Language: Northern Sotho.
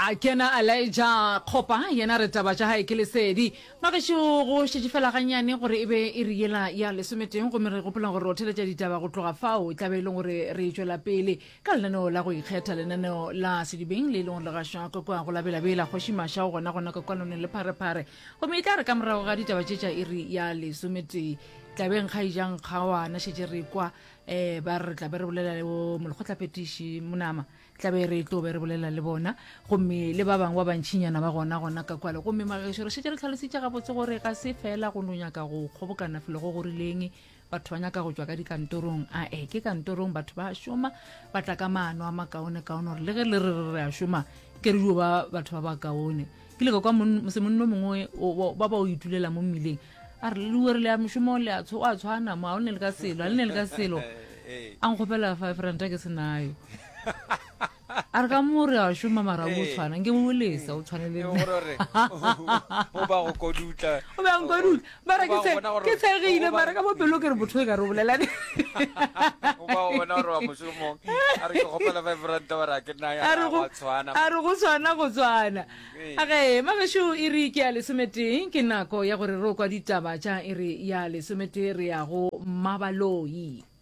A kena Elijah Kgopa, yena re taba tša gae ke lesedi. Magešo go šetše fela gannyane gore e be iri yela ya lesometeng gomme re gopola gore o theletša ditaba go tloga fao e tla be e leng gore re tšwela pele ka lenaneo la go ikgetha lenaneo la sedibeng le e leng gore le gašwa ka kua go la Belabela Kgoši Maša o gona gona ka kua lone le Pharephare gomme e tla re ka morago ga ditaba tše tša iri ya lesometee tlabeng kgaijang kgawana šetše re kwa um ba re tla be re bolela le bo molekgotlaphethiši Monama Tla be re tlo be re bolela le bona gomme le ba bangwe ba bantšinyana ba gona gona ka kwale. Gomme magešo re šetše re tlhalositše gabotse gore ga se fela go no nyaka go kgobokana felo go go rileng, batho ba nyaka go tšwa ka dikantorong. Ae, ke kantorong batho ba šoma, ba tla ka maano a makaonekaone gore le ge le re re re a šoma, ke re dio ba batho ba bakaone. Ke ile ka kwa mosemonno mongwe ba ba o itulela mo mmileng a re le re le ya mošomong le a tshwana mo, a o ne le ka selo, a le ne le ka selo. A nkgopela five ranta ke se nayo. A re ka mo re a šoma mara o tshwana nke o lesa o tshwane le nna. O ba go kodutla. O ba nkodutla. Mara ke ke tshegile mara ka mo pelo ke re motho e ka re o bolela. O ba go bona gore wa mošomong. A re ke kgopela 5 ranta ba re ke nna ya wa tshwana. A re go tshwana go tshwana. A ge magešo iri ke ya lesometee ke nako ya gore re o kwa ditaba tša iri ya lesometee re ya go Mmabaloi.